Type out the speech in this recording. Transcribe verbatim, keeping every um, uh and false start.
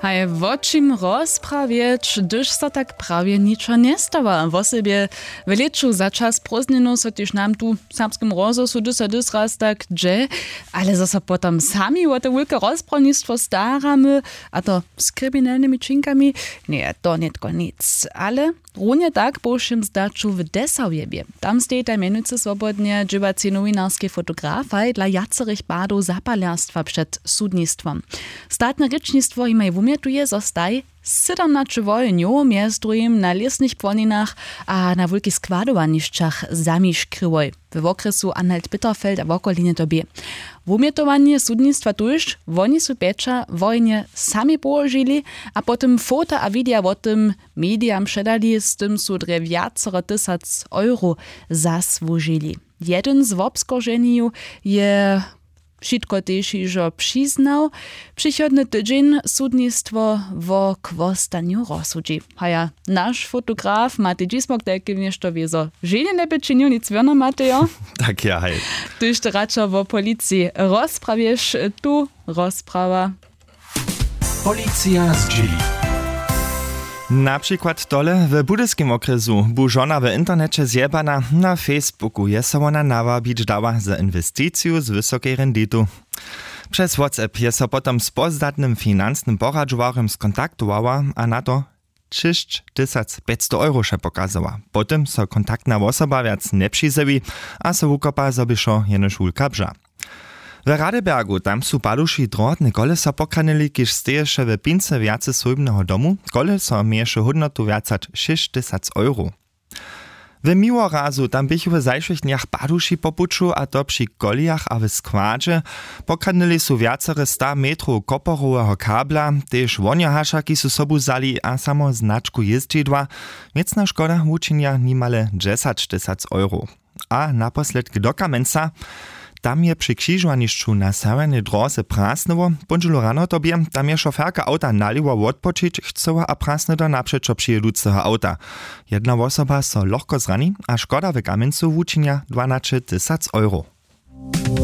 Haj, wo čim rozprawjeć, hdyž so tak prawje ničo njestawa? Wosebje w lěću za čas prózdninow so tež nam tu w serbskim rozhłosu dys a dys raz tak dźe, ale zo so potom sami wo te wulke rozprawnistwo staramy, a to z kriminelnymi činkami, njeje to nětko nic. Ale runje tak po wšěm zdaću w Dessau je bě. Tam stejitaj mjenujcy swobodnje dźěłacej nowinarskej fotografaj dla wjacerych padow zapalerstwa před sudnistwom. Statne rěčnistwo jimaj wumjetuje, zo staj sydomnaće wohenjow mjez druhim na lěsnych płoninach a na wulkich składowanišćach zamiškryłoj we wokrjesu Anhalt-Bitterfeld a wokolinje to bě. Wumjetowanje sudnistwa tuž, woni su pjeća wohenje sami połožili a potom fota a widea wo tym mediam předali, z tym su drje wjacore tysac euro zasłužili. Jedyn z wobskorženju je wšitko tež hižo přiznał. Přichodny tydźeń sudnistwo wo chłostanju rozsudźi. Haja, naš fotograf Matej Dźismok tajkim něšto wězo ženje njeby činił, nic wěrno, Matejo? Tak ja, haj. Tuž to radšo wo policiji rozprawješ, tu rozprawa. Policija zdźěli. Na přikład tole: w budyskim wokrjesu bu žona w interneće zjebana. Na facebooku je so wona nawabić dała za inwesticiju z wysokej renditu. Přez whatsapp je so potom z pozdatnym financnym poradźowarjom skontaktowała a na to šěsć tysac pjećstow euro wše pokazała. Potom so kontaktna wosoba wjac njepřizjewi a so wukopa, zo běšo jenož wulka bža. W Radebergu tam su paduši drohotne koleso pokradnyli, kiž steješe w pince wjace swójbneho domu. Koleso měješe hódnotu wjac hač šěsć tysac euro. W Miłorazu tam běchu w zašłych dnjach paduši po puću, a to při kolijach a w składźe. Pokradnyli su wjacore sta metrow koporoweho kabla. Tež wonjohašaki su sobu wzali a samo značku jězdźidła. Wěcna škoda wučinja nimale dźesać tysac euro. A naposledk do Kamenca. Tam je při křižowanišću na sewjernej dróze prasnyło. Póndźelu rano to bě. Tam je šoferka awta nalěwo wotpočić chcyła a prasny do napřećo přijěduceho awta. Jedna wosoba so lochko zrani a škoda w Kamencu wučinja dwanaće tysac euro.